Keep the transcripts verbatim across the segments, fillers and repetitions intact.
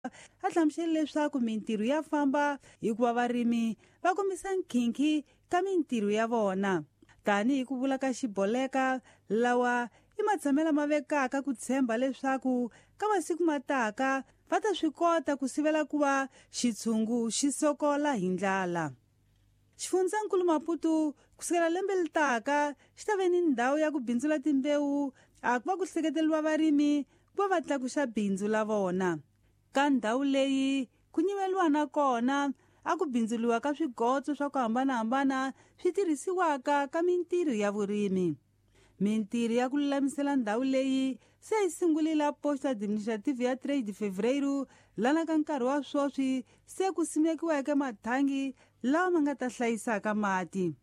A hlamusele leswaku mintirho ya famba hikuva varimi va kombisa nkhinkhi ka mintirho ya vona. Tanihi ku vula ka Xiboleka, lawa i matshamelo ma vekaka ku tshemba leswaku ka masiku mataka va ta swi kota ku sivela ku va xitshungu xi sokola hi ndlala. Xifundzankulu Maputo kusukela lembe leri taka xi ta ve ni ndhawu ya ku bindzula timbewu a ku va ku hleketeriwa varimi ku va va tlakusa bindzu la vona. Ka ndhawu leyi ku nyimeliwa na kona a ku bindzuliwa ka swigotso swa ku hambanahambana swi tirhisiwaka ka mintirho ya vurimi. Mintirho ya ku lulamisela ndhawu leyi se yi sungurile posto administrative ya três de fevereiro lana ka nkarhi wa sweswi se ku simekiweke mathangi lawa ma nga ta hlayisaka mati.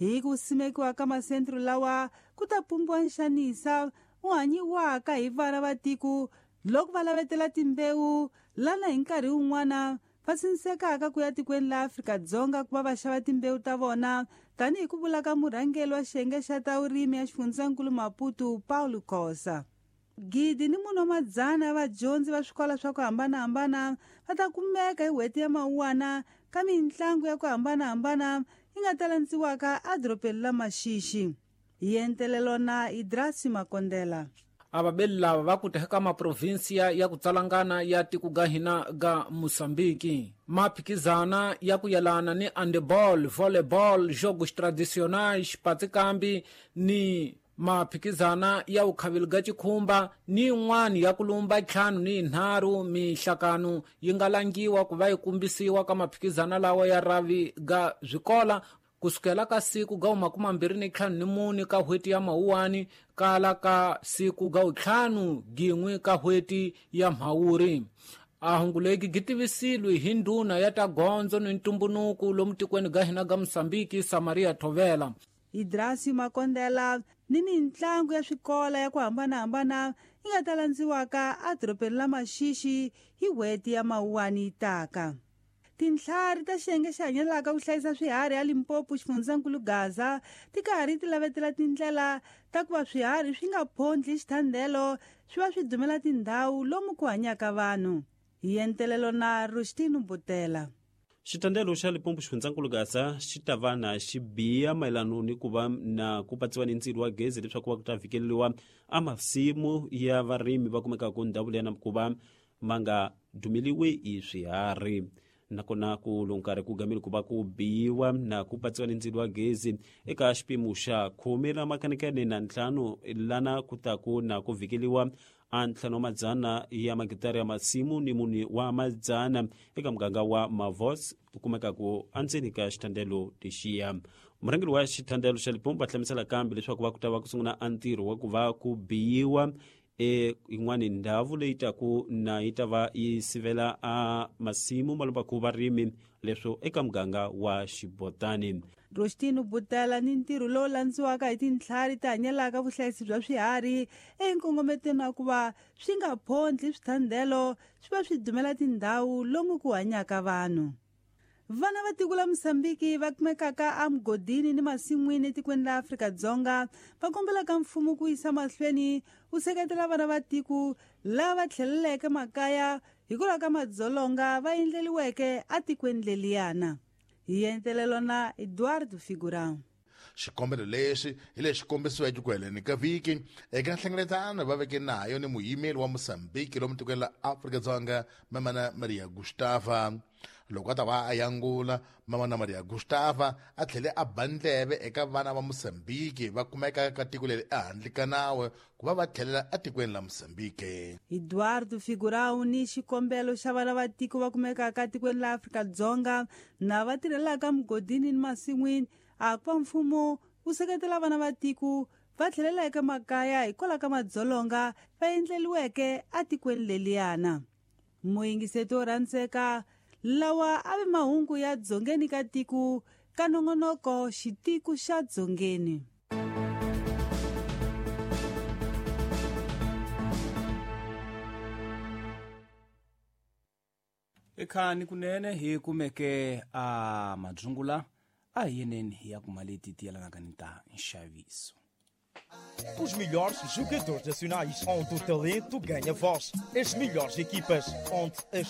Hi ku simekiwa ka masentro lawa ku ta pumbiwa nxanisa wu hanyiwaka hi vana va tiko loko va lavetela timbewu lana hi nkarhi wun'wana va sinsekaka ku ya tikweni la Afrika-Dzonga ku va va xava timbewu ta vona, tanihi ku vula ka murhangeri wa xiyenge xa ta vurimi ya xifundzankulu Maputo Paulo Khosa. Gidi ni mune wa madzana ya vadyondzi va swikolo swa ku hambanahambana va ta kumeka hi n'hweti ya Mawuwana ka mitlangu ya ku hambanahambana yi nga ta landziwaka edorobeni la Maxixi. Hi entelelo na Idrasi Makondela. Avabeli lava va ku teka maprovinsia ya ku tsalangana ya tiko ga hina ga Mozambique. Maphikizana ya ku yelana ni handball, volleyball, jogos tradicionais, patikambi ni maphikizana ya ukhavili ga chikhumba ni yin'wana ya kulumba ntlhanu ni yinharhu mihlakano yi nga langiwa ku va yi kumbisiwa ka maphikizana lawa ya ravi ga swikola kusukela ka siku ga makumi mambirhi ni ntlhanu ni mune ka n'hweti ya Mawuwani kala ka siku ga ntlhanu gin'we ka n'hweti ya Mhawuri. A hungu legi gi tivisilwe hi ndhuna ya ta gondzo ni ntumbunuku lomu tikweni ga hina ga Mozambique Samaria Thovela. Idrasi Makondela ni mitlangu ya swikola ya ku hambanahambana yi nga ta landziwaka edorobeni la Maxixi hi n'hweti ya Mawuwani yi taka. Tintlhari ta xiyenge xi hanyelaka ku hlayisa swiharhi ya Limpopo xifundzankulu Gaza ti karhi ti lavetela tindlela ta ku va swiharhi swi nga phondli xithandelo swi va swi dumela tindhawu lomu ku hanyaka vanhu. Hi entelelo na Rustino Butela. Xitandelo xa Limpopo xifundzankulu Gaza xi ta va na xibiya mayelano ni ku va na ku patsiwa ni ndzilo wa gezi leswaku va ku ta fikeleriwa a masimu ya varimi va kumekaka ndhawu leyi na ku va ma nga dumeliwi hi swiharhi. Nakona ku lowu nkarhi ku gamile ku va ku biwa na ku patsiwa ni ndzilo wa gezi eka xipimo xa khume ra makanekane na ntlhanu lana ku ta ku na ku vhikeliwa a ntlhanu wa madzana ya magitara ya masimu ni mune wa madzana eka muganga wa Mavos ku kumekaku endzeni ka xitandelo lexiya. Murhangeri wa xitandelo xa Limpopo va hlamusela kambe leswaku va ku ta va ku sungula a ntirho wa ku va ku biyiwa e yin'wani ndhawu leyi taku na yi ta va yi sivela a masimu malombaku varimi leswo eka muganga wa Xibotani. Rostino Butela ni ntirho lowu landziwaka hi tintlhari ti hanyelaka vuhlayisi bya swiharhi enkongometweni wa ku va swi nga phondli swithandelo swi va swi dumela tindhawu lomu ku hanyaka vanhu. Vana va tiko la Mozambique va kumekaka emugodini ni masin'wini etikweni la Afrika-Dzonga va kombelaka mfumo ku yisa mahlweni wu seketela vana va tiko lava tlheleleke makaya hikwalaho ka madzolonga va endleliweke etikweni leliyana. Hi entelelo na Eduardo Figurão. Xikombelo lexi hi lexi kombisiweke ku heleni ka vhiki eka nhlengeletano va veke nayo ni muyimeri wa Mozambique lomu tikweni la Afrika-Dzonga Mamana Maria Gustava. Loko a ta va a yangula Mamana Maria Gustava a tlhele a ba ndleve eka vana va Mozambique va kumekaka ka tiko leri ehandle ka nawu ku va va tlhelela etikweni la Mozambique. Eduardo Figurão ni xikombelo xa vana va tiko va kumekaka etikweni la Afrika-Dzonga na va tirhelaka mugodini ni masin'wini a ku va mfumo wu seketela vana va tiko va tlhelela eka makaya hikwalaho ka madzolonga va endleliweke etikweni leliyana. Muyingiseti wo rhandzeka, lawa a ve mahungu ya dzongeni ka tiko ka nongonoko xitiko xa dzongeni. Ekhani kunene hi kumeke a madzungula a hi yeneni hi ya kuma leti ti yelanaka ni ta nxaviso. Os melhores jogadores nacionais, onde o talento ganha voz. As melhores equipas, onde a história